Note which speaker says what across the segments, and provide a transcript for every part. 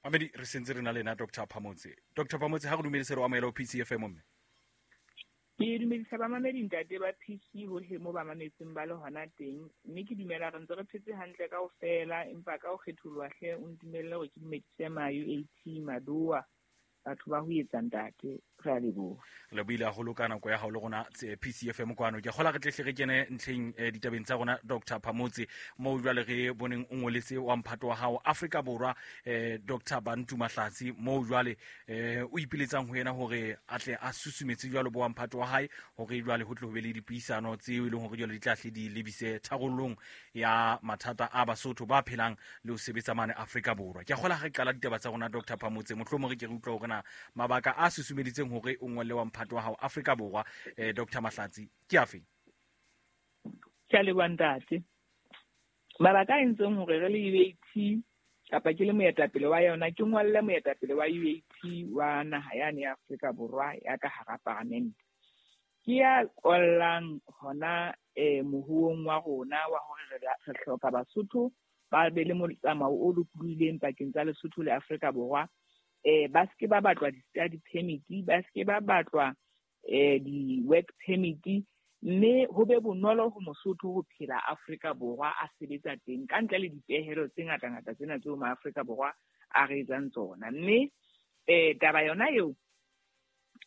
Speaker 1: Mamedi, re sentse re na le ena Dr Phamotse. Dr Phamotse, ha re dumedise, re o amohela ho PCFM mme.
Speaker 2: Ke dumedisa bamamedi ntate ba PC hohle mo ba mametseng ba le hona teng, mme ke dumela re ntse re phetse hantle kaofela, empa ka ho kgetholoha hle o ntumelle hore ke dumedise ma UAT Madoa, batho ba ho etsa ntate, re a leboha.
Speaker 1: Re lebohile haholo ka nako ya hao le rona PCFM kwano. Ke kgola re tlehle re kene ntlheng ditabeng tsa rona Dr Phamotse, moo jwale re boneng o ngoletse wa mphato wa hao Afrika Borwa Dr Bantu Mahlatsi, moo jwale o ipiletsang ho yena hore a tle a susumetse jwalo bo wa mphato wa hae hore jwale ho tle ho be le dipuisano tseo e leng hore jwale di tla hle di lebise tharollong ya mathata a Basotho ba phelang le ho sebetsa mane Afrika Borwa. Ke a kgola ha re qala ditaba tsa rona Dr Phamotse, mohlomong re ke re utlwa hore na mabaka a susumeditseng hore o ngolle wa mphato wa hao Afrika Borwa Dr Mahlatsi ke afe?
Speaker 2: Ke a leboha ntate. Mabaka a entseng hore re le UAT kapa ke le moetapele wa yona, ke ngolle moetapele wa UAT wa naha yane ya Afrika Borwa ya ka hara paramente. Ke ya kollang hona moruong wa rona wa hore re hloka Basotho ba be le motsamao o lokolohileng pakeng tsa Lesotho le Afrika Borwa. Ba seke ba batlwa di-study permit, ba seke ba batlwa di-work permit, mme ho be bonolo ho Mosotho ho phela Afrika Borwa a sebetsa teng ka ntle le dipehelo tse ngata-ngata tsena tseo ma-Afrika Borwa a re etsang tsona. Mme taba yona eo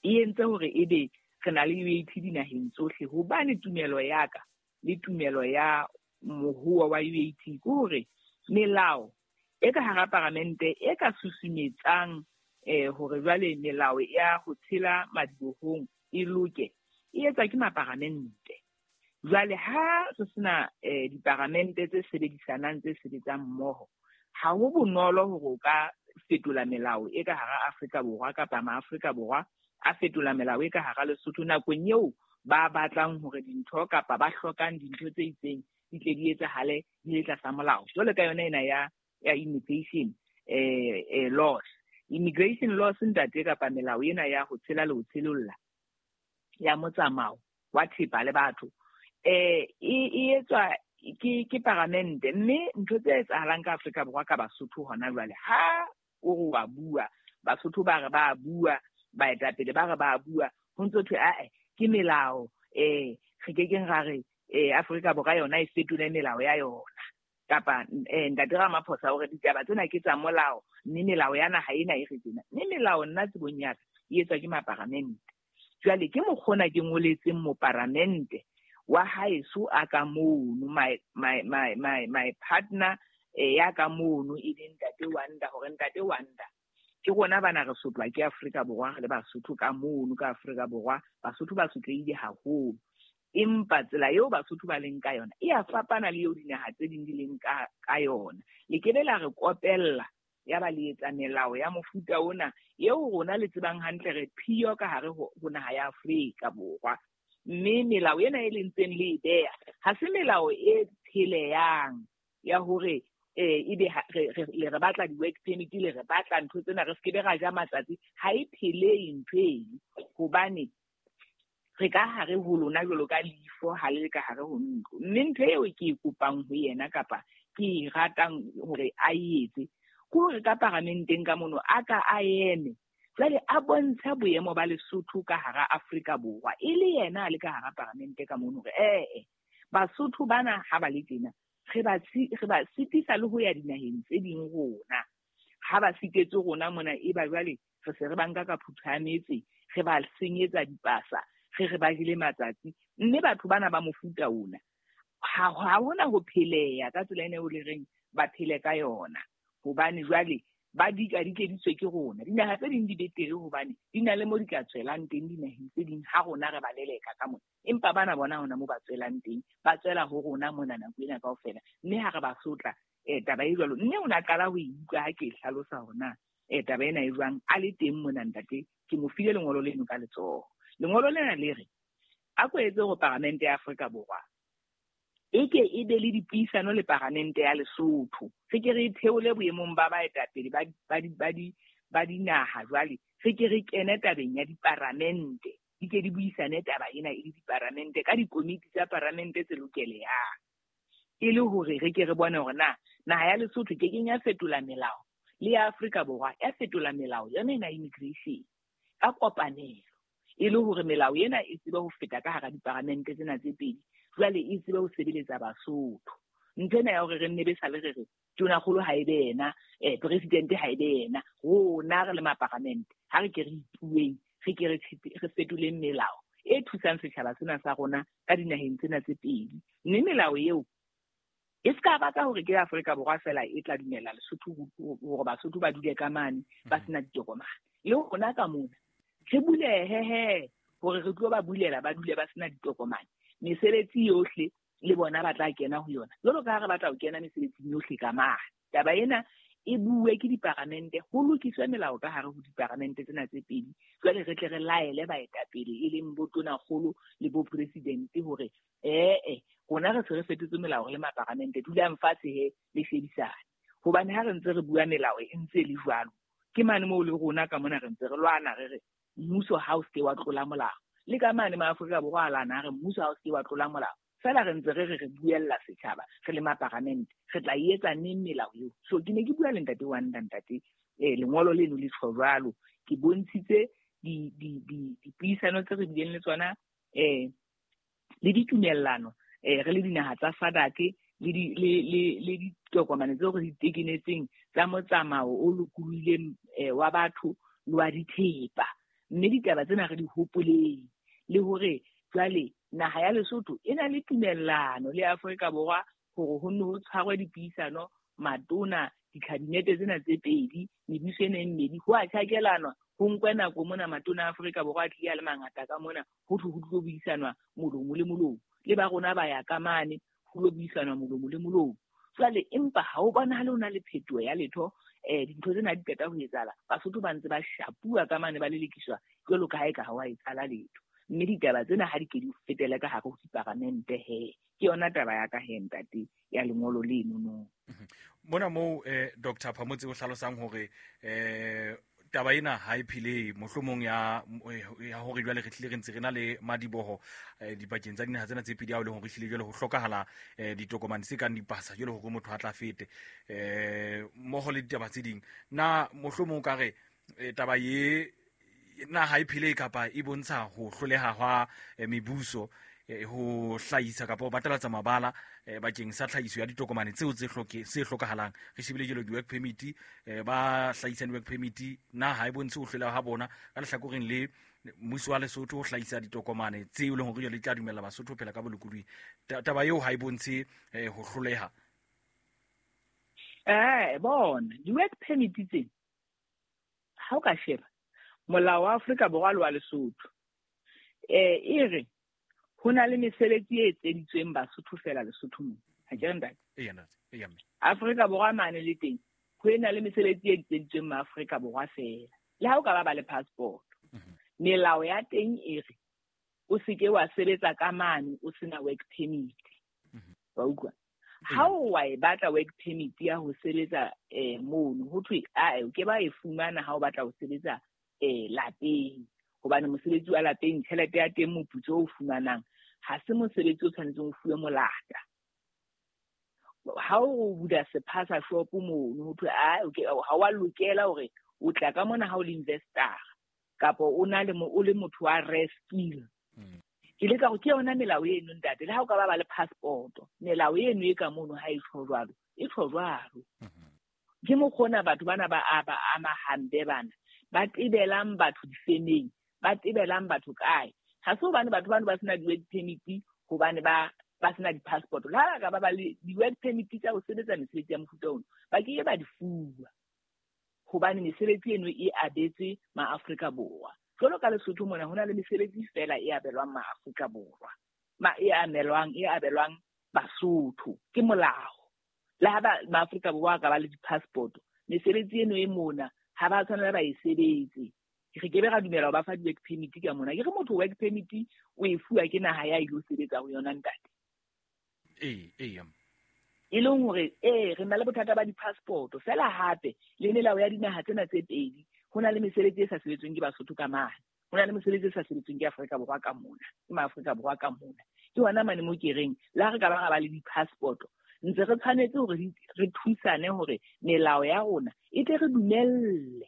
Speaker 2: e entse hore ebe re na le UAT dinaheng tsohle, hobane tumelo ya ka le tumelo ya mohuwa wa UAT ke hore melao e ka hara paramente e ka susumetsang hore jwale melao ya ho tshela madibohong e loke, e etswa ke maparamente. Jwale ha re sena diparamente tse sebedisanang tse sebetsang mmoho, ha ho bonolo hore o ka fetola melao e ka hara Afrika Borwa kapa ma-Afrika Borwa a fetola melao e ka hara Lesotho nakong eo ba batlang hore dintho kapa ba hlokang dintho tse itseng di tle di etsahale di le tlasa molao. Jwalo ka yona ena ya immigration laws. Immigration laws ntate, kapa melao ena ya ho tshela le ho tshelolla ya motsamao wa thepa le batho, e etswa ke paramente. Mme ntho tse etsahalang ka Afrika Borwa ka Basotho hona jwale, ha o re wa bua, Basotho ba re ba bua, baetapele ba re ba bua, ho ntso thwe ae ke melao, re kekeng ra re Afrika Borwa yona e fetole melao ya yona. Kapa ntate Ramaphosa o re ditaba tsena ke tsa molao, mme melao ya naha ena e re tjena. Mme melao nna tsebong ya ka e etswa ke maparamente. Jwale ke mokgona ke ngoletseng moparamente wa haeso a ka mono, my partner ya ka mono e leng ntate Wanda, hore ntate Wanda ke rona bana re sotlwa ke Afrika Borwa, re le Basotho ka mono ka Afrika Borwa, Basotho ba sotlehile haholo. Empa tsela eo Basotho ba leng ka yona e a fapana le eo dinaha tse ding di leng ka yona. Le ke be la re kopella ya ba le etsa melao ya mofuta ona eo rona le tsebang hantle re phiyo ka hare ho naha ya Afrika Borwa. Mme melao ena e le ntseng le e beha ha se melao e pheleyang ya hore ebe le re batla di-work permit, le re batla ntho tsena, re se ke be ra ja matsatsi. Ha e phelehe ntho eno, hobane re ka hare ho lona jwalo ka leifo ha le ka hare ho ntlo. Mme ntho eo ke e kopang ho yena kapa ke e ratang hore a e etse ke hore ka paramenteng ka mono a ka a eme jwale a bontshe boemo ba Lesotho ka hara Afrika Borwa, e le yena a le ka hara paramente ka mono hore Basotho bana ha ba le tjena re ba sitisa le ho ya dinaheng tse ding rona. Ha ba sitetse rona mona, e ba jwale re se re ba nka ka phutha ya metse, re ba senyetsa dipasa, re ba jele matsatsi. Mme batho bana ba mofuta ona ha hona ho pheleha ka tsela ena eo le reng ba phele ka yona, hobane jwale ba dikadikeditswe ke rona. Dinaha tse ding di betere hobane di na le mo di ka tswelang teng dinaheng tse ding ha rona re ba leleka ka mona. Empa bana bona hona mo ba tswelang teng, ba tswela ho rona mona nako ena kaofela. Mme ha re ba sotla, taba e jwalo. Mme o na qala ho e utlwa ha ke e hlalosa hore na taba ena e jwang, a le teng mona ntate, ke mo file lengolo leno ka letsoho. Lengolo lena le re, a ko etse hore paramente ya Afrika Borwa e ke e be le dipuisano le paramente ya Lesotho. Re ke re theole boemong ba baetapele ba dinaha jwale, re ke re kene tabeng ya diparamente. Di ke di buisane taba ena e le diparamente ka dikomiti tsa paramente tse lokelehang, e le hore re ke re bone hore na naha ya Lesotho ke keng ya fetola melao Le ya Afrika Borwa ya fetola melao yona ena immigration ka kopanelo, e le hore melao ena e tsebe ho feta ka hara diparamente tsena tse pedi, jwale e tsebe ho sebeletsa Basotho. Ntho ena ya hore re nne be sale re re tonakgolo ha e be yena, presidente ha e be yena, rona re le maparamente ha re ke re ipueng, re ke re fetoleng melao e thusang setjhaba sena sa rona ka dinaheng tsena tse pedi. Mme melao eo e ska ba ka hore ke Afrika Borwa fela e tla dumella Lesotho hore Basotho ba dule ka mane ba sena ditokomane. Le rona ka mona re bulehe he hore re tlo ba bulela ba dule ba sena ditokomane. Mesebetsi yohle le bona ba tla kena ho yona, jwalo ka ha re batla ho kena mesebetsing yohle ka mane. Taba ena e bue ke diparamente, ho lokiswe melao ka hare ho diparamente tsena tse pedi. Jwale re tle re laele baetapele e leng bo tonakgolo le bo presidente hore rona re se re fetotse melao re le maparamente, dulang fatshe he le shebisane. Hobane ha re ntse re bua melao e ntse le jwalo, ke mane moo le rona ka mona re ntse re lwana re re mmuso ha o se wa tlola molao. Le ka mane ma Afrika Borwa a lwana re mmuso ha o se wa tlola molao. Fela re ntse re re re buella setjhaba re le maparamente, re tla etsa neng melao eo? So ke ne ke bua le ntate wa ntate, lengolo leno le tjho jwalo. Ke bontshitse dipuisano tse re bileng le tsona, le ditumellano, re le dinaha tsa SADC le ditokomane tseo re di tekenetseng tsa motsamao o lokolohileng wa batho le wa dithepa. Mme ditaba tsena re di hopoleng, le hore jwale naha ya Lesotho e na le tumellano le Afrika Borwa hore ho nne ho tshwarwe dipuisano matona, dikhabinete tsena tse pedi, mebuso ena e mmedi, ho a tjhakelanwa, ho nkwe nako mona matona a Afrika Borwa a tlile a le mangata ka mona, ho thwe ho tlo buisanwa molomo le molomo. Le ba rona ba ya ka mane, ho lo buisanwa molomo le molomo. Jwale empa ha o bonahale ho na le phetoho ya letho, dintho tsena di qeta ho etsahala, Basotho ba ntse ba shapuwa ka mane, ba lelekiswa jwalo ka ha eka ha wa etsahala letho. Mme ditaba tsena ha di ke di fetele ka hare ho diparamente he. Ke yona taba ya ka he ntate ya lengolo leno no.
Speaker 1: Mona moo Dr. Phamotse o hlalosang hore taba ena ha e phele mohlomong ya hore jwale re tlile re ntse re na le madiboho dipakeng tsa dinaha tsena tse pedi, ha o le hore hlile jwale ho hlokahala ditokomane tse kang dipasa jwale hore motho a tla fete mmoho le ditaba tse ding. Na mohlomong o ka re taba ye na ha e phele kapa e bontsha ho hloleha hwa mebuso ho hlahisa kapa ho batalatsa mabala bakeng sa tlhahiso ya ditokomane tseo tse hlokahalang? Re shebile jalo di-work permit, ba hlahisang di-work permit, na ha e bontshe ho hloleha ha bona ka lehlakoreng le mmuso wa Lesotho ho hlahisa ditokomane tseo e leng hore jwale di tla dumella Basotho ho phela ka bolokolohi? Taba eo ha e bontshe ho hloleha.
Speaker 2: Bona di-work permit tse ha o ka sheba molao wa Afrika Borwa le wa Lesotho, e re ho na le mesebetsi e etseditsweng Basotho fela Lesotho mona. Ha ke re ntate?
Speaker 1: Eya ntate, eya mme.
Speaker 2: Afrika Borwa mane le teng ho ena le mesebetsi e etseditsweng ma Afrika Borwa fela. Le ha o ka ba ba le passport, melao ya teng e re o seke wa sebetsa ka mane o sena work permit. Wa utlwa? Ha o wa e batla work permit ya ho sebetsa mono, ho thwe o ke ba e fumana ha o batla ho sebetsa lapeng, hobane mosebetsi wa lapeng tjhelete ya teng, moputso o fumanang ha se mosebetsi o tshwanetseng o fuwe molata. Ha o bula sephaza shop mono, ho thwe ha wa lokela hore o tla ka mona ha o le investor kapa o na le o le motho wa rare skill. Ke leka hore ke yona melao eno ntate, le ha o ka ba ba le passport, melao eno e ka mono ha e tjho jwalo, e tjho jwalo. Ke mokgona batho bana ba ama hampe bana, ba tebelang batho difemeng, ba tebelang batho kae. Ha se hobane batho bano ba sena di-work permit, hobane ba sena di-passport. Le ha ba ka ba ba le di-work permit tsa ho sebetsa mesebetsi ya mofuta ono, ba ke ba di fuwa, hobane mesebetsi eno e abetswe ma-Afrika Borwa. Jwalo ka Lesotho mona ho na le mesebetsi fela e abelwang ma-Afrika Borwa, e abelwang Basotho, ke molao. Le ha ma-Afrika Borwa ka ba le di-passport, mesebetsi eno e mona ha ba tshwanela ba e sebetse. Re ke be ra dumela ho ba fa di-work permit ka mona. Ke re motho work permit o e fuwa ke naha ya ilo sebetsa ho yona ntate.
Speaker 1: Ee.
Speaker 2: E leng hore re na le bothata ba di-passport fela, hape le melao ya dinaha tsena tse pedi, ho na le mesebetsi e sa sebetsweng ke Basotho ka mane, ho na le mesebetsi e sa sebetsweng ke Afrika Borwa ka mona, ke ma Afrika Borwa ka mona. Ke hona mane mo ke reng le ha re ka ba ra ba le di-passport, Ntse re tshwanetse hore re thusane hore melao ya rona e tle re dumelle.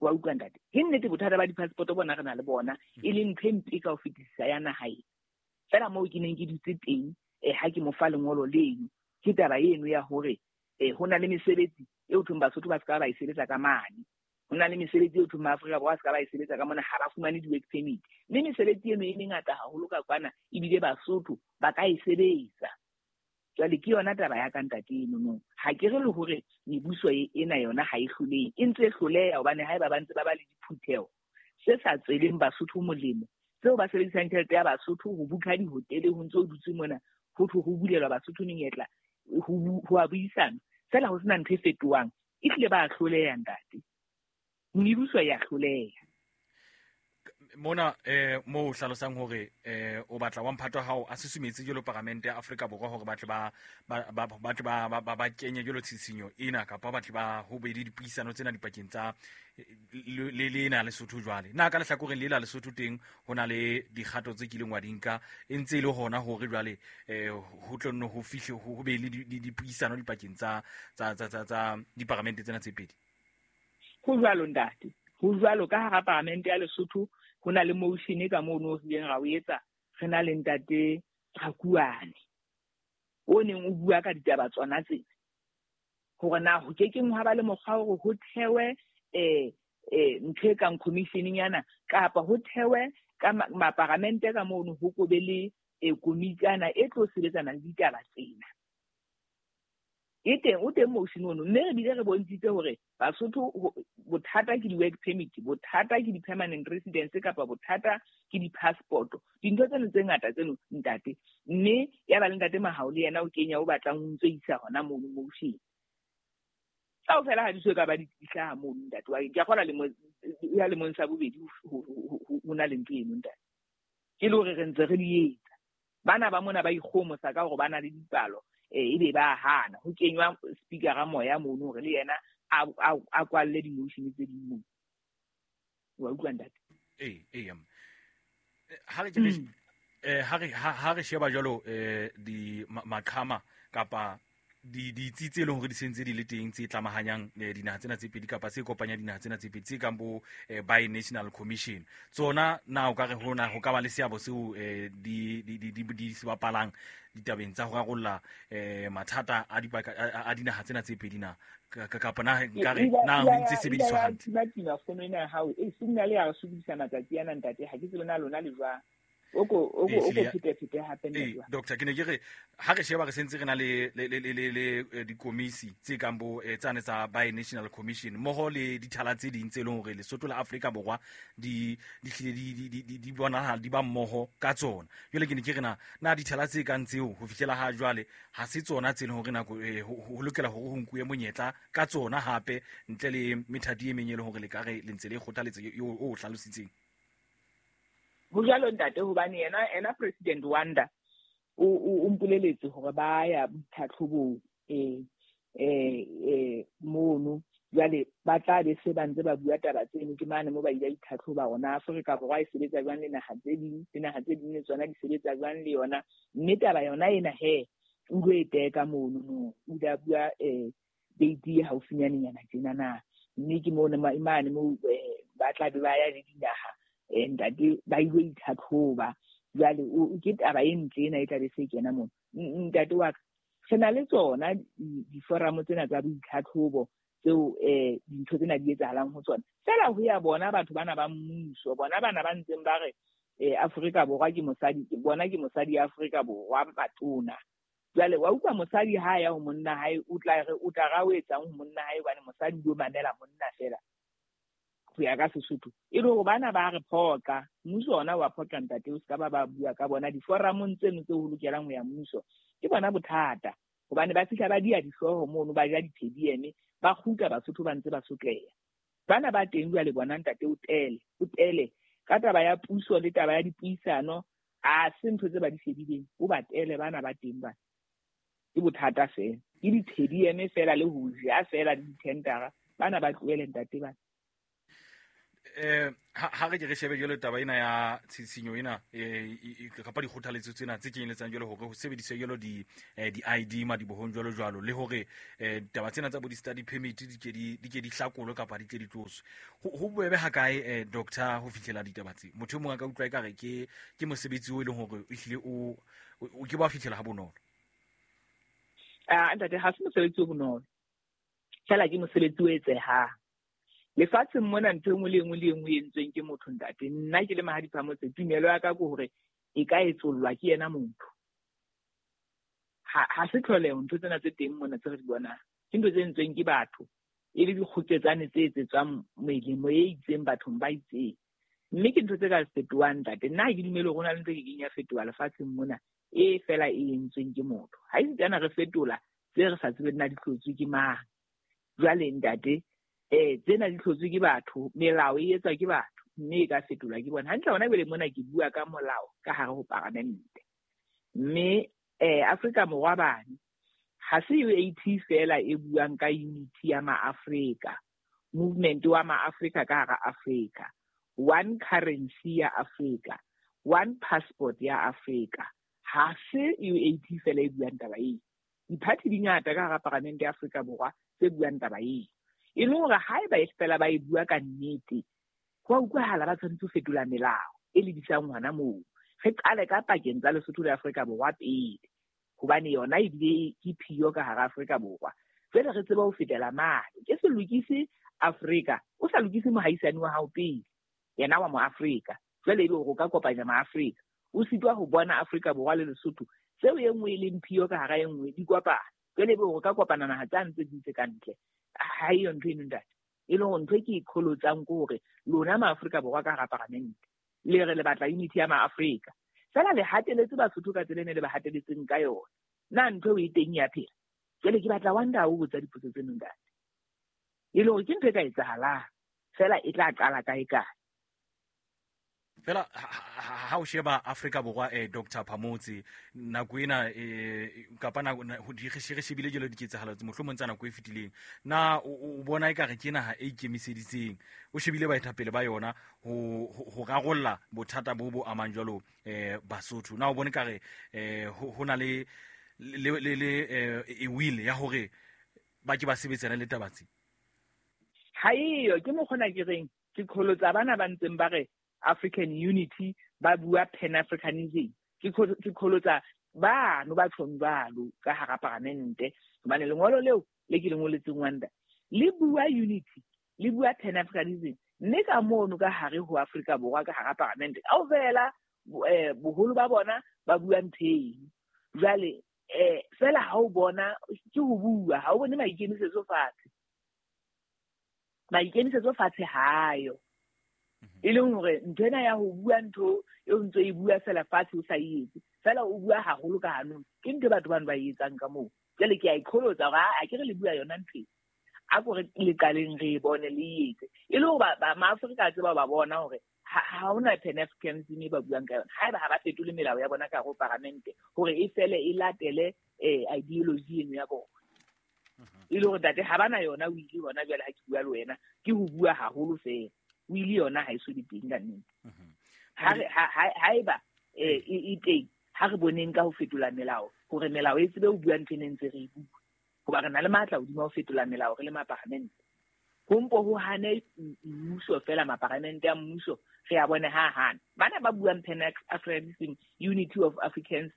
Speaker 2: Wa utlwa ntate? Ke nnete bothata ba di-passport bona re na le bona, e leng ntho e mpe ka ho fetisisa ya naha ena. Feela moo ke neng ke dutse teng, ha ke mo fa lengolo leno, ke taba eno ya hore ho na le mesebetsi eo thweng Basotho ba se ka ba e sebetsa ka mane. Ho na le mesebetsi eo thweng Maafrika Borwa a se ka ba e sebetsa ka mona, ha ba fumane di-work permit. Mme mesebetsi eno e mengata haholo ka kwana, ebile Basotho ba ka e sebetsa. Jwale ke yona taba ya ka ntate eno no. Ha ke re le hore mebuso ena yona ha e hlolehe, e ntse e hloleha hobane haeba ba ntse ba ba le diphutheho tse sa tsweleng Basotho molemo, tseo ba sebedisang tjhelete ya Basotho ho bukha dihotele, ho ntse ho dutswe mona, ho thwe ho bulelwa Basotho menyetla, ho a buisana, feela ho sena ntho e fetohang, ehlile ba hloleha ntate. Mebuso ya hloleha.
Speaker 1: Mona mo hlalosang hore o batla wa mphato hao a susumetse jwalo paramente ya Afrika Borwa hore batle ba batle ba kenye jwalo tshisinyo ena, kapa batle ba ho be le dipuisano tsena dipakeng tsa le lena Lesotho. Jwale na ka lehlakoreng le la Lesotho teng ho na le dikgato tse kileng wa di nka, e ntse e le hona hore jwale ho tlo nne ho fihle ho be le dipuisano dipakeng tsa diparamente tsena tse pedi?
Speaker 2: Ho jwalo ntate, ho jwalo. Ka hara paramente ya Lesotho ho na le motion ka moo no re ileng ra o etsa, re na le ntate Rakuane o neng o bua ka ditaba tsona tsena, hore na ho ke keng hwa ba le mokgwa hore ho thewe ntho e kang commission-nyana, kapa ho thewe ka maparamente ka mono ho kobe le komitana e tlo sebetsana le ditaba tsena. E teng, o teng motion ono, mme re bile re bontshitse hore Basotho bothata ke di-work permit, bothata ke di-permanent residence, kapa bothata ke di-passport. Dintho tseno tse ngata tseno ntate. Mme ya ba le ntate Mahao le yena o kenya o batlang o ntso isa hona mono motion. Kaofela ha di so ka ba di hlaha mono ntate wa ke a kgolwa ya lemong sa bobedi ho na le ntho eno ntate. Ke le hore re ntse re di etsa. Bana ba mona ba ikgomosa ka hore ba na le dipalo, ebe ba hana ho kenywa speaker-a moya mono hore le yena a kwalle di-motion tse ding mono. Wa utlwa ntate?
Speaker 1: Ee. Ha re sheba jwalo di maqhama kapa ditsi tse leng hore di sentse di le teng tse tlamahanyang dinaha tsena tse pedi, kapa tse kopanyang dinaha tsena tse pedi, tse kang bo Bi-National Commission, tsona na o ka re hona ho ka ba le seabo seo di se bapalang ditabeng tsa ho rarolla mathata a dipaka a dinaha tsena tse pedi na, kapa na nkare na ho ntse sebediswa hantle?
Speaker 2: Tima fono ena ya hao e signal ya re sokodisa matsatsi ana ntate, ha ke tsebe na lona le jwang. Oko phete hape nna.
Speaker 1: Doctor, ke ne ke re ha re sheba re sentse re na le dikomisi tse kang bo tsane tsa Bi-National Commission mmoho le dithala tse ding tse leng hore Lesotho la Afrika Borwa di hlile di bonahala di ba mmoho ka tsona. Jwale ke ne ke re na dithala tse kang tseo ho fihlela ha jwale ha se tsona tse leng hore nako ho lokela hore ho nkuwe monyetla ka tsona hape, ntle le methati e meng e leng hore le ka re le ntse le kgothaletsa o hlalositseng.
Speaker 2: Ho jwalo ntate, hobane yena President Wanda o mpoleletse hore ba ya boitlhatlhobong mono. Jwale ba tla be se ba ntse ba bua taba tseno, ke mane mo ba ile itlhatlhoba hore Afrika Borwa e sebetsa jwang le naha tse ding, le naha tse ding le tsona di sebetsa jwang le yona. Mme taba yona ena he o lo e teka mono no, o ile a bua date e haufinyanenyana tjena na. Mme ke mono mane mo ba tla be ba ya le dinaha ntate ba ile itlhatlhoba. Jwale ke taba e ntle ena e tla be se kena mono. Ntate wa ka, re na le tsona diforamo tsena tsa boitlhatlhobo tseo dintho tsena di etsahalang ho tsona. Feela ho ya bona batho bana ba mmuso, bona bana ba ntseng ba re Afrika Borwa ke mosadi, bona ke mosadi ya Afrika Borwa batona. Jwale wa utlwa mosadi ha ya ho monna hae, o tla re o tla ra o etsang ho monna hae, hobane mosadi o mamela monna feela. Ho ya ka Sesotho. E le hore bana ba re phoqa, mmuso ona wa phoqa ntate, o ska ba bua ka bona diforamong tseno tse ho lokelang ho ya mmuso. Ke bona bothata, hobane ba fihla ba dia dihlooho mono, ba ja di-PDM, ba kgutla Basotho ba ntse ba sotleha. Bana ba teng jwale bona ntate, o tele ka taba ya puso le taba ya dipuisano, a se ntho tse ba di shebileng, o ba tele bana ba teng bana. Ke bothata fela, ke di-PDM fela le ho ja fela le di-tendera, bana ba tlohele ntate bana.
Speaker 1: Ha re ke re shebe jwale taba ena ya tshisinyo ena, kapa dikgothaletso tsena tse kenyeletsang jwale hore ho sebediswe jwalo di-ID madibohong jwalo jwalo, le hore taba tsena tsa bo di-study permit di ke di hlakolwe kapa di tle di tloswe. Ho bobebe ha kae, doctor, ho fihlela ditaba tse? Motho e mong a ka utlwa ekare ke mosebetsi o e leng hore ehlile o ke ba fihlela ha bonolo.
Speaker 2: Ntate, ha se mosebetsi o bonolo. Fela ke mosebetsi o etsehang. Lefatsheng mona ntho e nngwe le e nngwe le e nngwe e entsweng ke motho, ntate. Nna ke le Mahadi Phamotse, tumelo ya ka ke hore e ka etsollwa ke yena motho. Ha se tlholeho ntho tsena tse teng mona tse re di bonang. Ke ntho tse entsweng ke batho, e le dikgoketsane tse etsetswang melemo e itseng bathong ba itseng. Mme ke ntho tse ka fetohang, ntate. Nna ha ke dumele hore ho na le ntho e kekeng ya fetoha lefatsheng mona e fela e entsweng ke motho. Ha esitana re fetola tse re sa tsebeng na di hlotswe ke mang. Jwale ntate, tsena di hlotswe ke batho, melao e etswa ke batho, mme e ka fetolwa ke bona. Hantle hona jwale mona ke bua ka molao ka hare ho paramente. Mme Afrika Borwa bane, ha se UAT fela e buang ka unity ya ma-Afrika, movement wa ma-Afrika ka hara Afrika, one currency ya Afrika, one passport ya Afrika. Ha se UAT fela e buang taba eo. Diphathi di ngata ka hara paramente ya Afrika Borwa tse buang taba eo. E leng hore haeba e fela ba e bua ka nnete, ho a utlwahala ba tshwanetse ho fetola melao e lebisang hona moo. Re qale ka pakeng tsa Lesotho le Afrika Borwa pele, hobane yona ebile ke phiyo ka hara Afrika Borwa. Jwale re tsebe ho fetela mane. Ke se lokise Afrika, o sa lokise mohaisane wa hao pele, yena wa moAfrika. Jwale ebe hore o ka kopanya maAfrika. O sitwa ho bona Afrika Borwa le Lesotho, tseo e nngwe e leng phiyo ka hara e nngwe di kopana. Jwale ebe hore o ka kopana naha tsa ntse di ntse ka ntle. Ha eyo ntho eno, ntate. E leng hore ntho e ke e qholotsang ke hore lona maAfrika Borwa ka hara paramente le re le batla unity ya maAfrika. Fela le hateletse Basotho ka tsela e ne le ba hateletseng ka yona. Na ntho eo e teng ya phela? Jwale ke batla Wanda o botsa dipotso tseno, ntate. E leng hore ke ntho e ka etsahalang, fela e tla qala kae kae.
Speaker 1: Fela ha o sheba Afrika Borwa, Dr. Phamotse, nako ena, kapa re shebile jwalo diketsahalo tse mohlomong tsa nako e fetileng, na o bona ekare ke naha e ikemiseditseng, o shebile baetapele ba yona ho rarolla bothata bo bo amang jwalo Basotho? Na o bone ekare ho na le e will ya hore ba ke ba sebetsane le taba tse?
Speaker 2: Ha eyo, ke mokgona ke reng ke qholotsa bana ba ntseng ba re African Unity, ba bua Pan-Africanism. Ke qholotsa bano ba tjhong jwalo ka hara paramente, hobane lengolo leo le ke le ngoletseng Wanda le bua unity, le bua Pan-Africanism, mme ka mono ka hare ho Afrika Borwa ka hara paramente kaofela boholo ba bona ba bua ntho eno. Jwale fela ha o bona ke ho bua, ha o bone maikemisetso fatshe. Maikemisetso fatshe hayo. E leng hore ntho ena ya ho bua ntho e o ntso e bua fela fatshe o sa e etse, fela o bua haholo ka hanong, ke ntho e batho bano ba e etsang ka moo. Jwale ke a e qholotsa hore a ke re le bua yona ntho e, a ko re le qaleng re e bone le e etse. E le hore maAfrika a tseba ba bona hore ha hona Pan-Africanism e ba buang ka yona. Haeba ha ba fetole melao ya bona ka hare ho paramente hore e fele e latele ideology eno ya bona. E le hore ntate ha bana yona o ile hona jwale ha ke bua le wena, ke ho bua haholo fela. O ile yona ha e so le teng ka nnete. Haeba e teng, ha re boneng ka ho fetola melao, hore melao e tsebe ho bua ntho e ne ntse re e bua. Hoba re na le matla hodima ho fetola melao re le maparamente. Ho mpo ho hane mmuso fela, maparamente a mmuso, re a bone ha hana. Bana ba buang Pan-Africanism, Unity of Africans,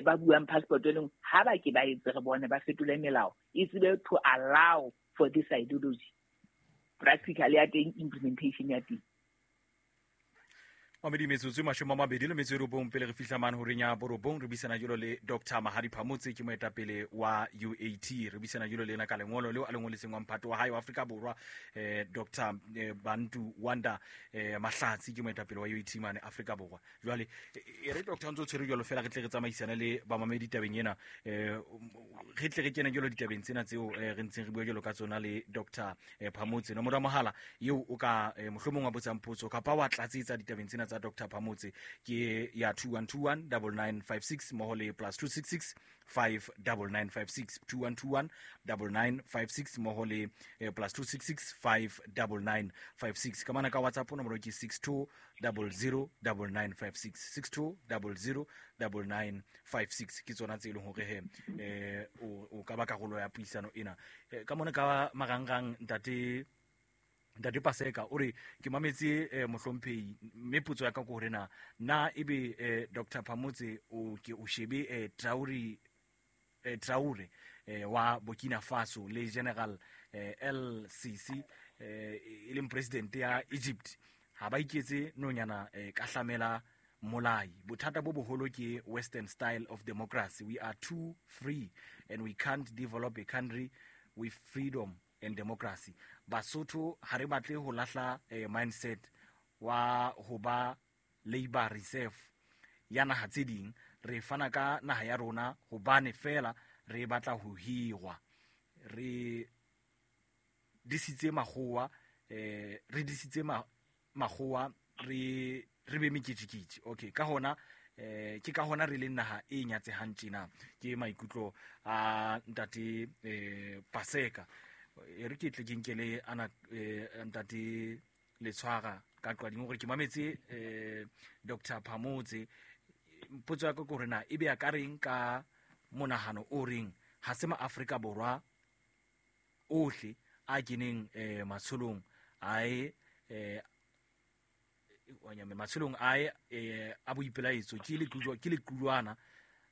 Speaker 2: ba buang passport e leng, ha ba ke ba etse re bone ba fetole melao, e tsebe to allow for this ideology. Practical ya teng, implementation ya teng.
Speaker 1: Mamedi metsotso 29 pele re fihla mane horeng ya 9, re buisana jwalo le Dr. Mahadi Phamotse, ke moetapele wa UAT. Re buisana jwalo le yena ka lengolo leo a le ngoletseng wa mphato wa hae wa Afrika Borwa, Dr. Bantu Wanda Mahlatsi, ke moetapele wa UAT mane Afrika Borwa. Jwale e re Dr. ntse o tshwere jwalo fela, re tle re tsamaisane le bamamedi tabeng ena, re tle re kene jwalo ditabeng tsena tseo re ntseng re bua jwalo ka tsona le Dr. Phamotse. Nomoro ya mohala eo o ka mohlomong wa botsang potso kapa wa tlatsetsa ditabeng tsena tsa tsa Dr Phamotse ke ya 2121 9956 mmoho le plus 266 59956, 2121 9956 mmoho le plus 266 59956. Ka mana ka WhatsApp nomoro ke 62 00 9956, 62 00 9956. Ke tsona tse e leng hore he o ka ba karolo ya puisano ena. Ka mona ka marangrang ntate Paseka o re ke mametse mohlomphehi, mme potso ya ka ke hore na ebe Dr Phamotse o ke o shebe Traore wa Burkina Faso le General El-Sisi e leng president ya Egypt, ha ba iketse nonyana ka hlamela molai. Bothata bo boholo ke Western style of democracy. We are too free and we can't develop a country with freedom and democracy. Basotho ha re batle ho lahla mindset wa ho ba labor reserve ya naha tse ding. Re fana ka naha ya rona hobane fela re batla ho hirwa. Re disitse makgowa, re disitse makgowa, re be meketjeketje. Okay, ka hona ke ka hona re leng naha e nyatsehang tjena. Ke maikutlo a ntate Paseka. E re ke tle ke nkele ana ntate Letshwara ka qading hore ke mametse Dr Phamotse. Potso ya ka ke hore na ebe a ka reng ka monahano o reng ha se ma Afrika Borwa ohle a keneng matsholong ae matsholong ae a boipelaetso ke lequlwana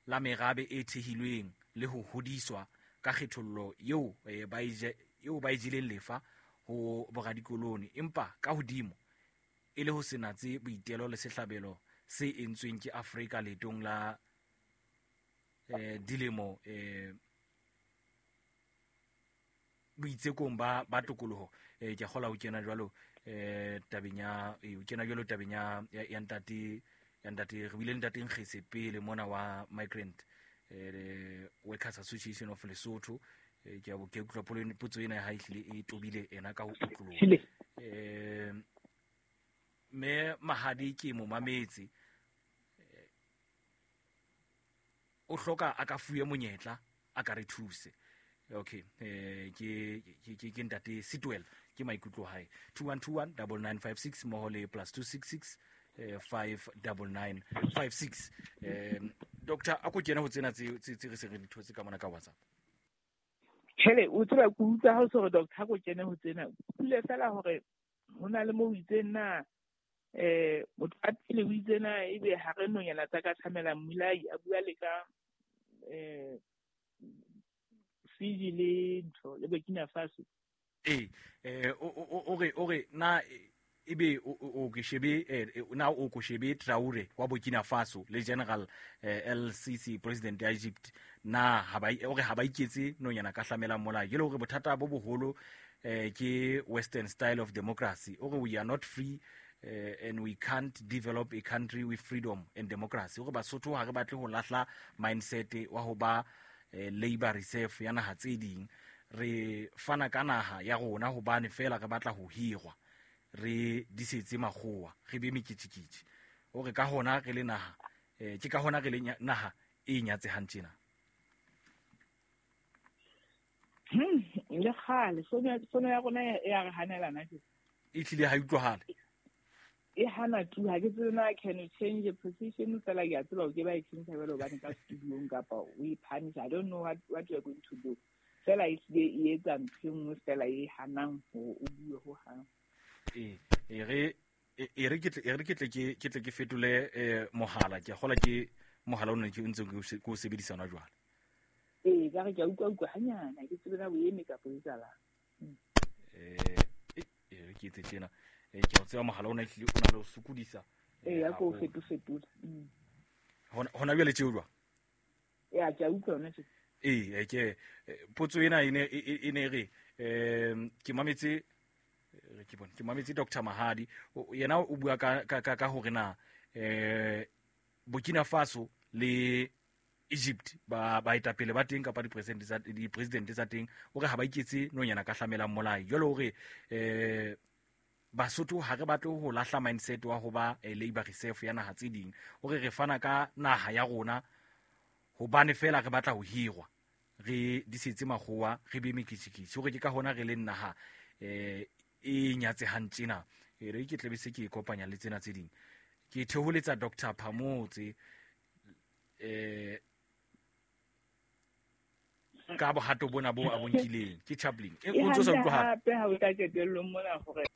Speaker 1: la merabe e thehilweng le ho hodiswa ka kgethollo eo ba e jeleng lefa ho boradikoloni, empa ka hodimo e le ho se natse boitelo le sehlabelo se entsweng ke Afrika leetong la dilemo boitsekong ba tokoloho. Ke kgola ho kena jwalo tabeng ya o kena jwalo tabeng ya ntate re bile ntate Nkgese pele mona wa Migrant Workers Association of Lesotho. Ke a bo ke utlwa potso ena ha e hlile e tobile ena ka ho utloloha. Mme Mahadi ke mo mametse, o hloka a ka fuwe monyetla a ka re thuse. Okay, ke ntate Sitwell ke maikutlo hae. 2121 9956 mmoho le plus 266 59956. Doctor a ko kena ho tsena tse re se re di thotse ka mona ka WhatsApp.
Speaker 2: Hele, o tseba ke utlwa ha o se re doctor a ko kene ho tsena. Pule fela hore ho na le mo o itseng na motho a pele o itse na ebe ha re nonyana tsa ka thamela mmolai a bua le ka Fiji le ntho le Burkina Faso.
Speaker 1: O re na ebe o ke shebe na o ko shebe Traore wa Burkina Faso le General El-Sisi president ya Egypt, na ha ba o re ha ba iketse nonyana ka hlamela molai. Ke le hore bothata bo boholo ke Western style of democracy. O re we are not free and we can't develop a country with freedom and democracy. O re Basotho ha re batle ho lahla mindset wa ho ba labor reserve ya naha tse ding. Re fana ka naha ya rona hobane fela re batla ho hirwa, re disetse makgowa, re be meketjeketje. O re ka hona re le naha ke ka hona re le naha e nyatsehang tjena.
Speaker 2: Le kgale sono ya rona ya re hanelana ke
Speaker 1: e tlile ha utlwahale
Speaker 2: e hana tu. Ha ke tsebe na can you change the position fela ke a tseba o ke ba e change jwalo hobane ka studio-ong kapa o e punish. I don't know what you are going to do. Fela e tlile e etsa ntho e nngwe fela e hanang hore o bue ho hang.
Speaker 1: E re ke tle ke fetole mohala. Ke kgola ke mohala o ne ke ntse ke o sebedisa hona jwale.
Speaker 2: Ee, ka re ke a utlwa hanyana, ke tsebe na o eme kapa o etsahalang.
Speaker 1: E re ke etse tjena. Ke o tseba mohala ona ehlile o na le ho sokodisa.
Speaker 2: Ya ko fetofetola.
Speaker 1: Hona jwale tjeo jwang?
Speaker 2: Ya ke a utlwa hona tje.
Speaker 1: Ee, ke potso ena e ne re ke mametse ke bone ke mametse Dr Mahadi yena o bua ka hore na Burkina Faso le Egypt ba baetapele ba teng kapa di-president tsa teng, o re ha ba iketse nonyana ka hlamelang molai. Jwale hore Basotho ha re batle ho lahla mindset wa ho ba labor reserve ya naha tse ding, hore re fana ka naha ya rona hobane fela re batla ho hirwa, re disetse makgowa, re be mekitjikitji, hore ke ka hona re leng naha e nyatsehang tjena. E re ke tlabe se ke e kopanya le tsena tse ding. Ke theholetsa Dr. Phamotse ka bohato bona bo a bonkileng ke Chaplin. E o ntso sa utlwahala
Speaker 2: hape ha o tla qetellong mona hore